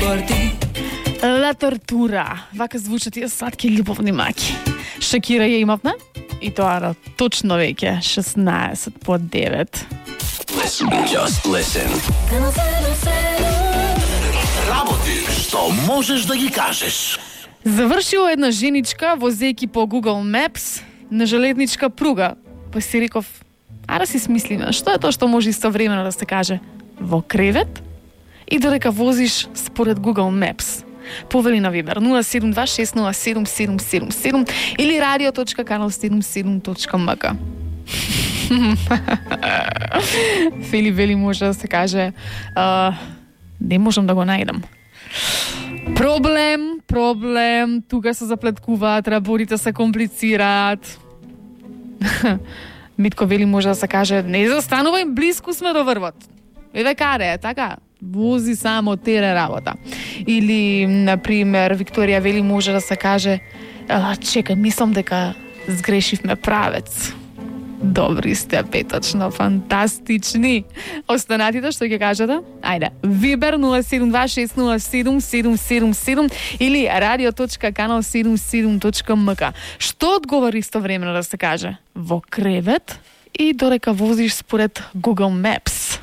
por ti. La Tortura. Вака звучат тие сладки љубовни маки. Шакира ја имавме и тоа точно веќе 16 по 9. Just listen. Работи што можеш да ги кажеш. Завршила една женичка возејќи по Google Maps на железничка пруга. Па си реков, да си смислиме, што е тоа што може истовремено да се каже во кревет и додека возиш според Google Maps. Повели на Вибер 072607777 или radio.kanal77.mk. Фили вели може да се каже не можам да го најдам. Проблем, тука се заплеткуваат, работите се комплицираат. Митко вели може да се каже не застанувај, близко сме до врвот. Еве каре, така, вози само тере работа. Или, например, Викторија вели може да се каже чекај, мислам дека сгрешивме правец. Добри сте, петочно, фантастични. Останатите што ќе кажете? Ајде, Вибер 072607777 или radio.kanal77.mk. Што одговори истовремено да се каже? Во кревет и додека возиш според Google Maps.